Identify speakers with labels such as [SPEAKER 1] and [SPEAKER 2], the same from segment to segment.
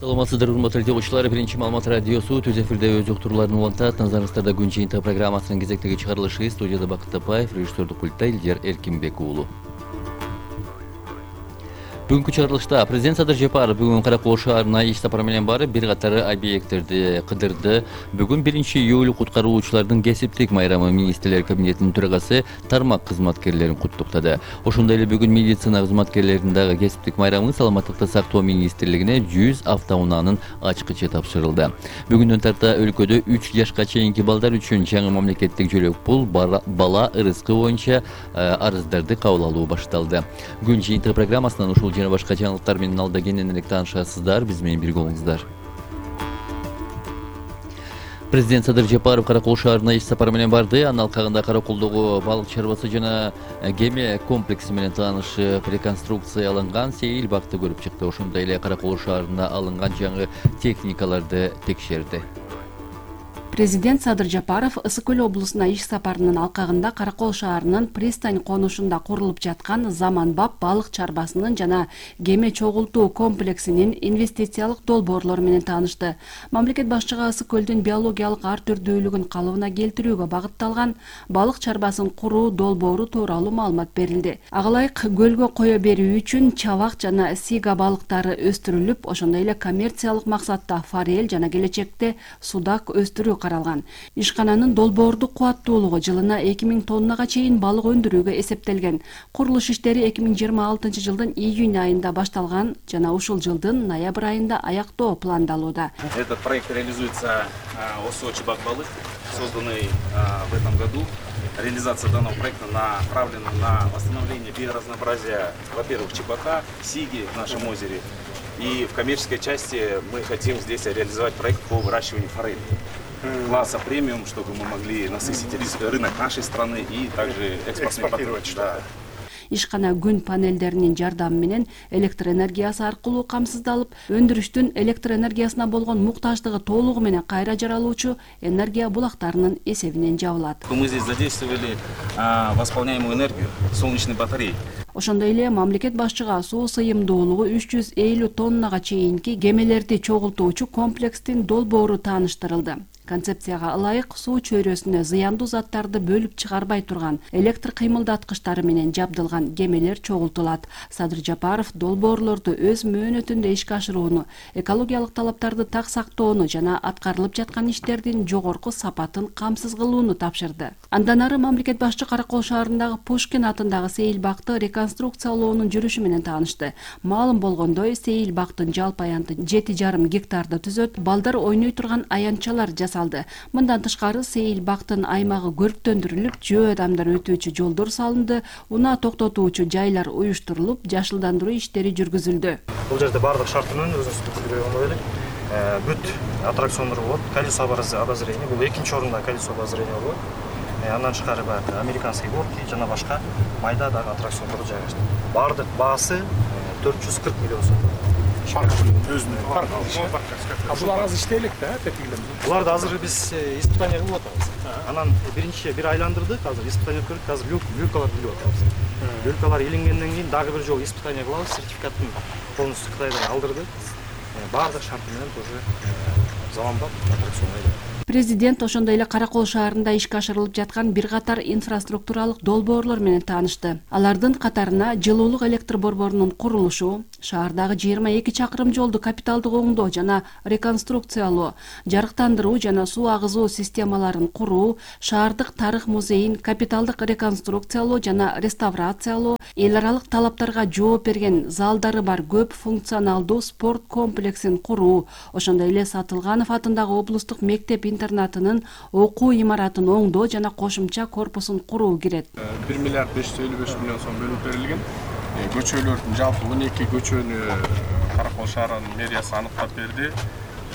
[SPEAKER 1] Саламатсыздар, урматтуу телеөгчүлөр. Биринчи маалымат радиосу түз эфирде өз уктурууларын улантат. Назарыңыздарда күн жыйынтыгы программасынын кезектеги чыгарылышы. Студияда Бакыт Тапаев, режиссердук пультта Илдер Эркинбек уулу. Бүгүнкү чыгарылышта президент Садыр Жапаров бүгүн Каракол шаарына иш сапары менен барып, бир катар объекттерди кыдырды. Бүгүн 1-июль куткаруучулардын кесиптик майрамы министрлер кабинетинин төрагасы тармак кызматкерлерин куттуктады. Ошондой эле бүгүн медицина кызматкерлеринин дагы кесиптик майрамы Саламаттыкты сактоо министрлигине 100 автоунаанын ачкычы тапшырылды. Бүгүндөн тарта өлкөдө 3 жашка чейинки балдар үчүн жаңы мамлекеттик жөлөк пул бала ырыскы боюнча арыздарды кабыл алуу башталды. Күн жыйынтыгы программасынан ушул жана башка жаңылыктар менен алда кененирээк таанышасыздар. Биз менен бирге болуңуздар. Президент Садыр Жапаров Каракол шаарына иш сапары менен барды. Анын алкагында Караколдогу балык чарбасы жана кеме комплекси менен таанышып, реконструкцияланган сейил бакты көрүп чыкты. Ошондой эле Каракол шаарына алынган жаңы техникаларды текшерди.
[SPEAKER 2] Президент Садыр Жапаров Ысык Көл облусуна иш сапарынын алкагында Каракол шаарынын пристань конушунда курулуп жаткан заманбап балык чарбасынын жана кеме чогултуу комплексинин инвестициялык долбоорлору менен таанышты. Мамлекет башчыга Ысык Көлдүн биологиялык ар түрдүүлүгүн калыбына келтирүүгө багытталган балык чарбасын куруу долбоору тууралуу маалымат берилди. Ага ылайык көлгө кое берүү үчүн чабак жана сига балыктары өстүрүлүп, ошондой эле коммерциялык максатта форель жана келечекте судак өстүрүү каралган. Ишкананын долбоордук кубаттуулугу жылына 2000 тоннага чейин балык өндүрүүгө эсептелген. Курулуш иштери 2026 жылдын июнь айында башталган жана ушул жылдын ноябрь айында аяктоо пландалууда.
[SPEAKER 3] Этот проект реализуется ОСО «Чебак-Балык», созданный в этом году. Реализация данного проекта направлена на восстановление биоразнообразия, во-первых, чебака, сиги в нашем озере. И в коммерческой части мы хотим здесь реализовать проект по выращиванию форели класса премиум, чтобы мы могли насытить рынок нашей страны и также экспортировать. Да.
[SPEAKER 2] Ишкана күн панелдеринин жардамы менен электр энергиясы аркылуу камсыздалып, өндүрүштүн электр энергиясына болгон муктаждыгы толугу менен кайра жаралуучу энергия булактарынын эсебинен жабылат.
[SPEAKER 3] Мы здесь задействовали восполняемую энергию солнечной батареи.
[SPEAKER 2] Ошондой эле мамлекет башчыга суу сыйымдуулугу 350 тоннага чейинки кемелерди чогултуучу комплекстин долбоору тааныштырылды. Концепцияга ылайык суу чөйрөсүнө зыяндуу заттарды бөлүп чыгарбай турган электр кыймылдаткычтары менен жабдылган кемелер чогултулат. Садыр Жапаров долбоорлорду өз мөөнөтүндө ишке ашырууну, экологиялык талаптарды так сактоону жана аткарылып жаткан иштердин жогорку сапатын камсыз кылууну тапшырды. Андан ары мамлекет башчы Каракол шаарындагы Пушкин атындагы сейил бакты реконструкциялоонун жүрүшү менен таанышты. Маалым болгондой, сейил бактын жалпы аянты 7,5 гектарды түзөт, балдар ойной турган аянтчалар жасалды. Мындан тышкары сейил бактын аймагы көрктөндүрүлүп, жөө адамдар өтүүчү жолдор салынды, унаа токтотуучу жайлар уюштурулуп, жашылдандыруу иштери жүргүзүлдү.
[SPEAKER 4] Бул жерде бардык шартынан өзүңүз билгендей эле бүт аттракциондор болот. Колесо обозрения, бул экинчи орунда колесо обозрения болот. Андан тышкары американский горки жана башка майда дагы аттракциондор жайгаштырылган. Бардык баасы 440 миллион сом.
[SPEAKER 5] Булар азыр иштейлик да, тепкилем.
[SPEAKER 4] Буларды азыр биз испытание кылып атабыз. Анан бир айландырдык, азыр испытание өткөрдүк, азыр люлкалар билип атабыз. Люлкалар иленгенден кийин дагы бир жолу испытание кылабыз, сертификатын полностью Кытайдан алдырдык. Бардык шарты менен тоже заманбап аттракцион эле.
[SPEAKER 2] Президент ошондой эле Каракол шаарында ишке ашырылып жаткан бир катар инфраструктуралык долбоорлор менен таанышты. Алардын катарына жылуулук электр борборунун курулушу, шаардагы 22 чакырым жолду капиталдык оңдоо жана реконструкциялоо, жарыктандыруу жана суу агызуу системаларын куруу, шаардык тарых музейин капиталдык реконструкциялоо жана реставрациялоо, эл аралык талаптарга жооп берген залдары бар көп функционалдуу спорт комплексин куруу, ошондой эле Сатылганов атындагы облустук мектеп интернатынын окуу имаратын оңдоо жана кошумча корпусун куруу кирет.
[SPEAKER 5] 1 миллиард 555 миллион сом бөлүп берилген. Көчөлөрдүн жалпы 12 көчөнү Каракол шаарынын мэриясы аныктап берди.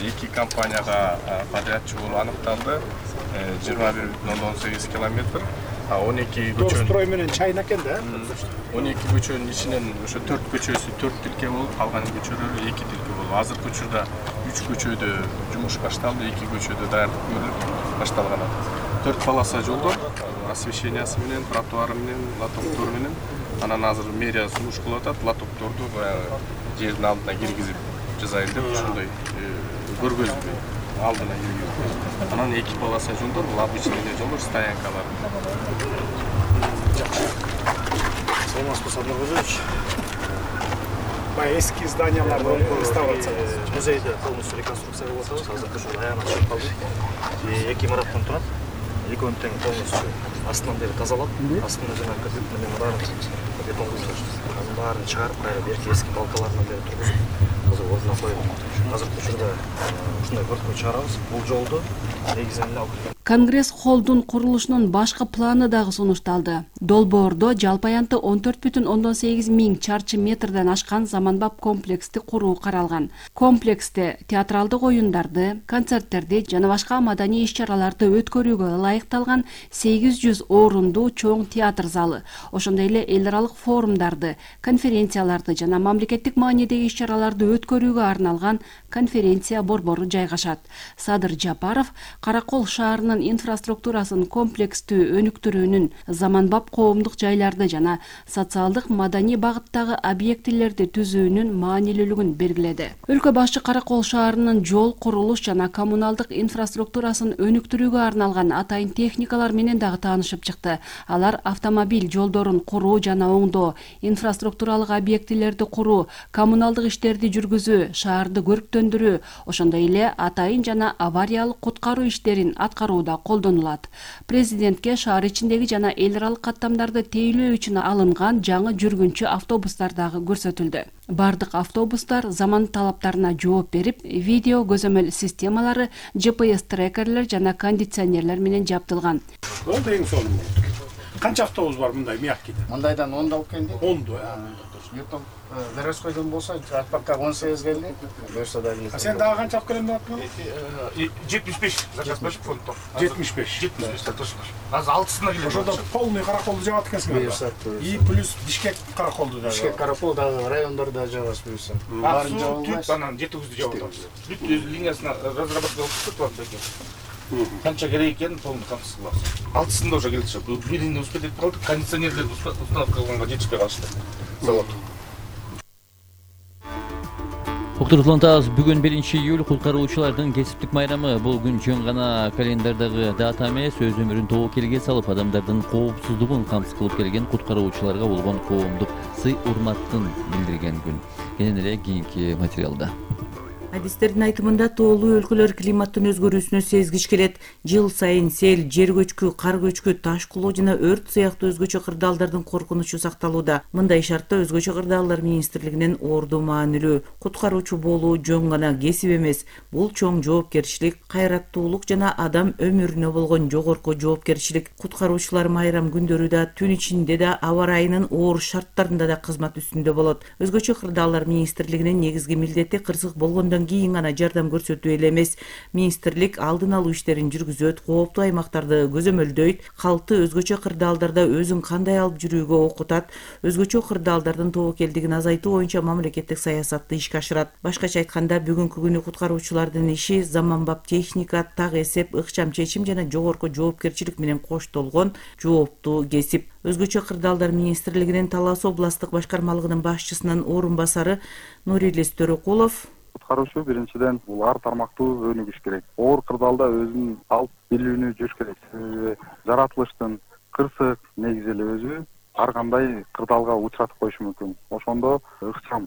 [SPEAKER 5] 2 компанияга подрядчы болуп аныкталды. 21,18 километр. 12 көчөнүн строй менен чайна экен да. 12 көчөнүн ичинен ошо 4 көчөсү 4 тилке болуп, калган көчөлөр 2 тилке болуп. Азыркы учурда 3 көчөдө жумуш башталды, 2 көчөдө даярдык көрүлүп башталган. 4 полоса жолдор, освещениясы менен, тротуары менен, лотоктору менен. Анан азыр мэрия сунуш кылып атат, лотокторду жердин алдына киргизип жасайын деп ошондой көргөзмө алдына киргизди. Анан 2 полоса жолдор, бул обычный жолдор, стоянкалар.
[SPEAKER 4] Саламатсызбы, Садыр Кожоевич.
[SPEAKER 6] Баягы эски зданияларды реставрациялап
[SPEAKER 4] Музейди полностью реконструкция кылып атабыз. Азыркы ушул аягына чыгып калды. 2 имараттан турат. Экөөнү тең полностью астынан бери тазалап, астында жана капит менен баарын бетон кылышты. Анын баарын чыгарып, кайра берки эски балкаларынан бери тургузуп, азыр ордуна коюп. Азыркы учурда ушундай көркөй чыгарабыз. Бул жолду негизинен алып
[SPEAKER 2] Конгресс холлдун курулушунун башкы планы дагы сунушталды. Долбоордо жалпы аянты 14,8 миң чарчы метрден ашкан заманбап комплексти куруу каралган. Комплексте театралдык оюндарды, концерттерди жана башка маданий иш-чараларды өткөрүүгө ылайыкталган 800 орундуу чоң театр залы, ошондой эле эл аралык форумдарды, конференцияларды жана мамлекеттик маанидеги иш-чараларды өткөрүүгө арналган конференция борбору жайгашат. Садыр Жапаров Каракол шаарынын инфраструктурасын комплекстүү өнүктүрүүнүн, заманбап коомдук жайларды жана социалдык маданий багыттагы объектилерди түзүүнүн маанилүүлүгүн белгиледи. Өлкө башчы Каракол шаарынын жол, курулуш жана коммуналдык инфраструктурасын өнүктүрүүгө арналган атайын техникалар менен дагы таанышып чыкты. Алар автомобиль жолдорун куруу жана оңдоо, инфраструктуралык объектилерди куруу, коммуналдык иштерди жүргүзүү, шаарды көрктөндүрүү, ошондой эле атайын жана авариялык куткаруу иштерин аткарууда колдонулат. Президентке шаар ичиндеги жана эл аралык каттамдарды тейлөө үчүн алынган жаңы жүргүнчү автобустар дагы көрсөтүлдү. Бардык автобустар заман талаптарына жооп берип, видео көзөмөл системалары, GPS трекерлер жана кондиционерлер менен жабдылган.
[SPEAKER 6] Болду эң сонун. Канча автобус бар мындай мягкий?
[SPEAKER 7] Мындайдан 10 алып келди.
[SPEAKER 6] 10.
[SPEAKER 7] Ертең Верескойдон болса, Атбакка 18 келди. Берсе да келет.
[SPEAKER 6] Сен дагы канча алып келем деп атпын?
[SPEAKER 8] 75 заказ берип фонддо.
[SPEAKER 6] 75.
[SPEAKER 8] Точно. Азыр 6-сына келет.
[SPEAKER 6] Ошондо полный Караколду жабат экенсиңер. И плюс Бишкек Караколду да.
[SPEAKER 7] Бишкек Каракол дагы райондордо жабас буюрса.
[SPEAKER 8] Баарын жабылбайт. Анан 7-9-дү жабып атабыз. Бүт линиясына разработка кылып турат экен. Канча керек экен полный камсыз кылабыз. 6-сында уже келди. Биринде успеть этип калдык, кондиционерлерди установка кылганга жетишпей калышты. Завод.
[SPEAKER 1] Уктуруктулантабыз, бүгүн 1-июль куткаруучулардын кесиптик майрамы. Бул күн жөн гана календардагы дата эмес, өз өмүрүн тобокелге салып, адамдардын коопсуздугун камсыз кылып келген куткаруучуларга болгон коомдук сый урматтын билдирген күн. Кенен эле кийинки материалда.
[SPEAKER 9] Адистердин айтымында тоолуу өлкөлөр климаттын өзгөрүүсүнө сезгич келет. Жыл сайын сел, жер көчкү, кар көчкү, таш кулоо жана өрт сыяктуу өзгөчө кырдаалдардын коркунучу сакталууда. Мындай шартта өзгөчө кырдаалдар министрлигинин орду маанилүү. Куткаруучу болуу жөн гана кесип эмес, бул чоң жоопкерчилик, кайраттуулук жана адам өмүрүнө болгон жогорку жоопкерчилик. Куткаруучулар майрам күндөрү да, түн ичинде да, аба ырайынын оор шарттарында да кызмат үстүндө болот. Өзгөчө кырдаалдар министрлигинин негизги милдети кырсык болгондон кийин гана жардам көрсөтүү эле эмес, министрлик алдын алуу иштерин жүргүзөт, кооптуу аймактарды көзөмөлдөйт, калкты өзгөчө кырдаалдарда өзүн кандай алып жүрүүгө окутат, өзгөчө кырдаалдардын тобокелдигин азайтуу боюнча мамлекеттик саясатты ишке ашырат. Башкача айтканда, бүгүнкү күнү куткаруучулардын иши заманбап техника, так эсеп, ыкчам чечим жана жогорку жоопкерчилик менен коштолгон жооптуу кесип. Өзгөчө кырдаалдар министрлигинин Талас областтык башкармалыгынын башчысынын орун басары Нурилис Төрөкулов:
[SPEAKER 10] Куткаруучу биринчиден бул ар тармактуу өнүгүш керек. Оор кырдаалда өзүн алып билүүнү жүрүш керек. Жаратылыштын кырсык негизи эле өзү ар кандай кырдаалга учуратып коюшу мүмкүн. Ошондо ыкчам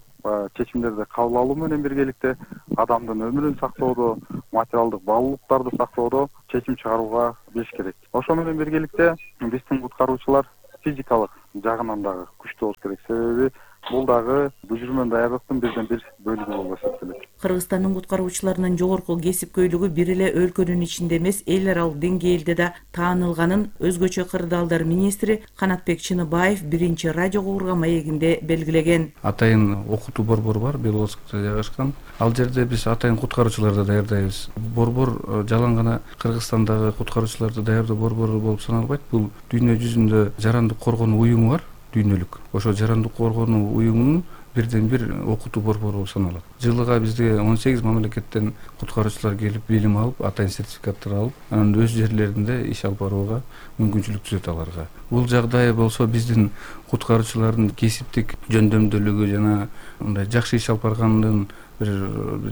[SPEAKER 10] чечимдерди кабыл алуу менен биргеликте адамдын өмүрүн сактоодо, материалдык баалуулуктарды сактоодо чечим чыгарууга билиш керек. Ошо менен биргеликте биздин куткаруучулар физикалык жагынан дагы күчтүү болуш керек. Себеби бул дагы бүжүрмөн даярдыктын бирден бир бөлүгү болуп эсептелет.
[SPEAKER 9] Кыргызстандын куткаруучуларынын жогорку кесипкөйлүгү бир эле өлкөнүн ичинде эмес, эл аралык деңгээлде да таанылганын өзгөчө кырдаалдар министри Канатбек Чыныбаев биринчи радио куурга маегинде белгилеген.
[SPEAKER 11] Атайын окутуу борбору бар, Беловодскта жайгашкан. Ал жерде биз атайын куткаруучуларды даярдайбыз. Борбор жалаң гана Кыргызстандагы куткаруучуларды даярдоо борбору болуп саналбайт. Бул дүйнө жүзүндө жарандык коргонуу уюму бар, дүйнөлүк. Ошо жарандык коргонуу уюмунун бирден бир окутуу борбору болуп саналат. Жылыга бизде 18 мамлекеттен куткаруучулар келип билим алып, атайын сертификаттар алып, анан өз жерлеринде иш алып барууга мүмкүнчүлүк түзөт аларга. Бул жагдай болсо биздин куткаруучулардын кесиптик жөндөмдүүлүгү жана мындай жакшы иш алып барганын бир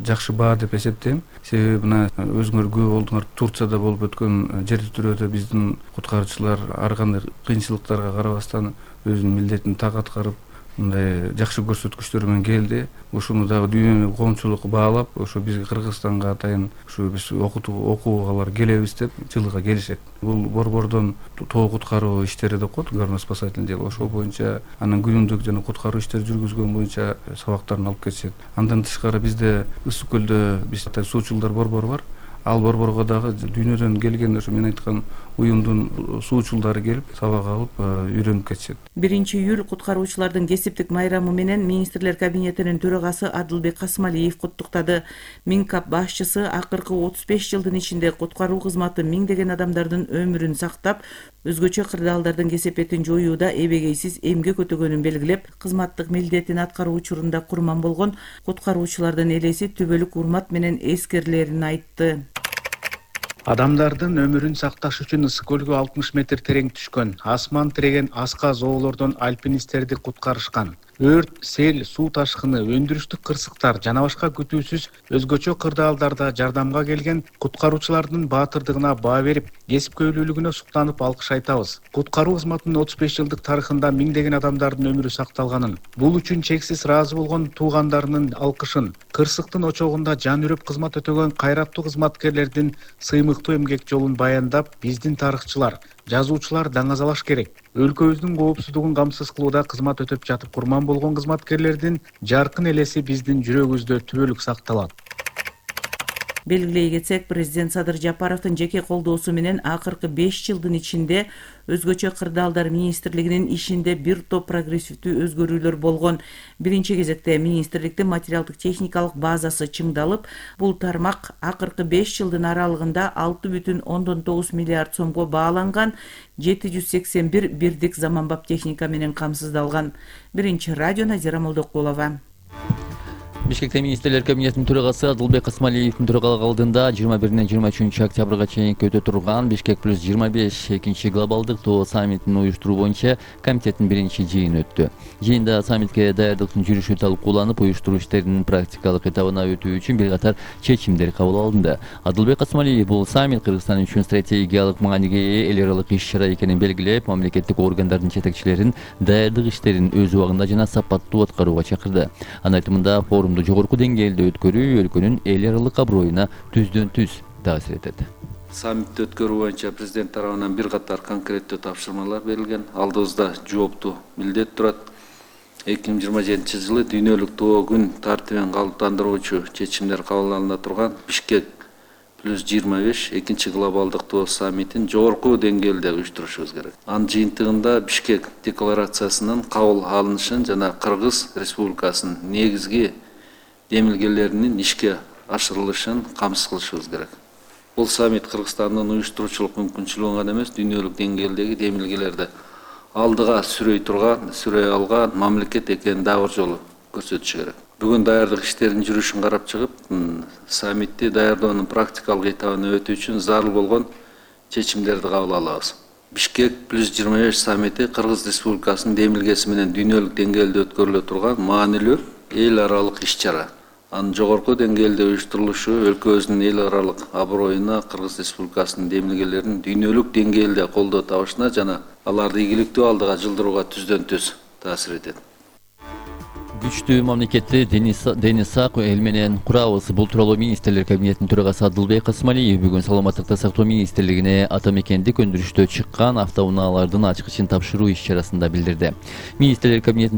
[SPEAKER 11] жакшы баа деп эсептейм. Себеби мына өзүңөр көп болдуңар, Турцияда болуп өткөн жер титирөөдө биздин куткаруучулар ар кандай кыйынчылыктарга карабастан өзүнүн милдетин так аткарып, мындай жакшы көрсөткүчтөр менен келди. Ушуну дагы дүйнөнү коомчулук баалап, ошо бизге Кыргызстанга атайын ушу биз окуугалар келебиз деп жылыга келишет. Бул борбордон тоо куткаруу иштери деп коет, горно-спасательный дело. Ошол боюнча анын күнүмдүк жана куткаруу иштери жүргүзгөн боюнча сабактарын алып кетишет. Андан тышкары бизде Ысык көлдө биз суучулдар борбору бар. Ал борборго дагы дүйнөдөн келген ошо мен айткан уюмдун суучулдары келип сабак алып үйрөнүп кетишет.
[SPEAKER 9] 1-июль куткаруучулардын кесиптик майрамы менен министрлер кабинетинин төрагасы Адылбек Касымалиев куттуктады. Минкап башчысы акыркы 35 жылдын ичинде куткаруу кызматы миңдеген адамдардын өмүрүн сактап, өзгөчө кырдаалдардын кесепетин жоюуда эбегейсиз эмгек өтөгөнүн белгилеп, кызматтык милдетин аткаруу учурунда курман болгон куткаруучулардын элеси түбөлүк урмат менен эскерилерин айтты.
[SPEAKER 12] Адамдардын өмүрүн сакташ үчүн Ысык көлгө 60 метр терең түшкөн, асман тиреген аска зоолордон альпинисттерди куткарышкан. Өрт, сел, суу ташкыны, өндүрүштүк кырсыктар жана башка күтүүсүз өзгөчө кырдаалдарда жардамга келген куткаруучулардын баатырдыгына баа берип, кесипкөйлүүлүгүнө суктанып алкыш айтабыз. Куткаруу кызматынын 35 жылдык тарыхында миңдеген адамдардын өмүрү сакталганын, бул үчүн чексиз ыраазы болгон туугандарынын алкышын, кырсыктын очогунда жан үрөп кызмат өтөгөн кайраттуу кызматкерлердин сыймыктуу эмгек жолун баяндап, биздин тарыхчылар, жазуучулар даңазалаш керек. Өлкөбүздүн коопсуздугун камсыз кылууда кызмат өтөп жатып курман болгон кызматкерлердин жаркын элеси биздин жүрөгүбүздө түбөлүк сакталат.
[SPEAKER 9] Белгилей кетсек, президент Садыр Жапаровдун жеке колдоосу менен акыркы 5 жылдын ичинде өзгөчө кырдаалдар министрлигинин ишинде бир топ прогрессивдүү өзгөрүүлөр болгон. Биринчи кезекте министрликтин материалдык техникалык базасы чыңдалып, бул тармак акыркы 5 жылдын аралыгында 6,9 миллиард сомго бааланган 781 бирдик заманбап техника менен камсыздалган. Биринчи радио Назира Молдокулова.
[SPEAKER 1] Бишкекте министрлер кабинетинин төрагасы Адылбек Касымалиевдин төрагалык алдында 21-23 октябрга чейин өтө турган Бишкек плюс 25 экинчи глобалдык тоо саммитин уюштуруу боюнча комитеттин биринчи жыйыны өттү. Жыйында саммитке даярдыктын жүрүшү талкууланып, уюштуруу иштеринин практикалык этабына өтүү үчүн бир катар чечимдер кабыл алынды. Адылбек Касымалиев бул саммит Кыргызстан үчүн стратегиялык мааниге ээ эл аралык иш-чара экенин белгилеп, мамлекеттик органдардын жетекчилерин даярдык иштерин өз убагында жана сапаттуу аткарууга чакырды. Анын айтымында форум жогорку деңгээлде өткөрүү өлкөнүн эл аралык аброюна түздөн-түз таасир этет.
[SPEAKER 13] Саммитти өткөрүү боюнча президент тарабынан бир катар конкреттүү тапшырмалар берилген. Алдыбызда жооптуу милдет турат. 2027 жылы дүйнөлүк тоо күн тартибин калыптандыруучу чечимдер кабыл алына турган Бишкек плюс 25 экинчи глобалдык тоо саммитин жогорку деңгээлде уюштурушубуз керек. Анын жыйынтыгында Бишкек декларациясынын кабыл алынышын жана Кыргыз Республикасынын негизги демилгелеринин ишке ашырылышын камсыз кылышыбыз керек. Бул саммит Кыргызстандын уюштуруучулук мүмкүнчүлүгүн гана эмес, дүйнөлүк деңгээлдеги демилгелерди алдыга сүрөй алган мамлекет экенин дагы бир жолу көрсөтүшү керек. Бүгүн даярдык иштеринин жүрүшүн карап чыгып, саммитти даярдоонун практикалык этабына өтүү үчүн зарыл болгон чечимдерди кабыл алабыз. Бишкек плюс 25 саммити Кыргыз Республикасынын демилгеси менен дүйнөлүк деңгээлде өткөрүлө турган маанилүү эл аралык иш-чара. Анын жогорку деңгээлде уюштурулушу өлкөбүздүн эл аралык аброюна, Кыргыз Республикасынын демилгелеринин дүйнөлүк деңгээлде колдоо табышына жана аларды ийгиликтүү алдыга жылдырууга түздөн-түз таасир этет.
[SPEAKER 1] Күчтүү мамлекетти Денис Сак эл менен курабыз. Бул тууралуу министрлер кабинетинин төрагасы Адылбек Касымалиев бүгүн Саламаттыкты сактоо министрлигине ата мекендик өндүрүштө чыккан автоунаалардын ачкычын тапшыруу иш-чарасында билдирди. Министрлер кабинетинин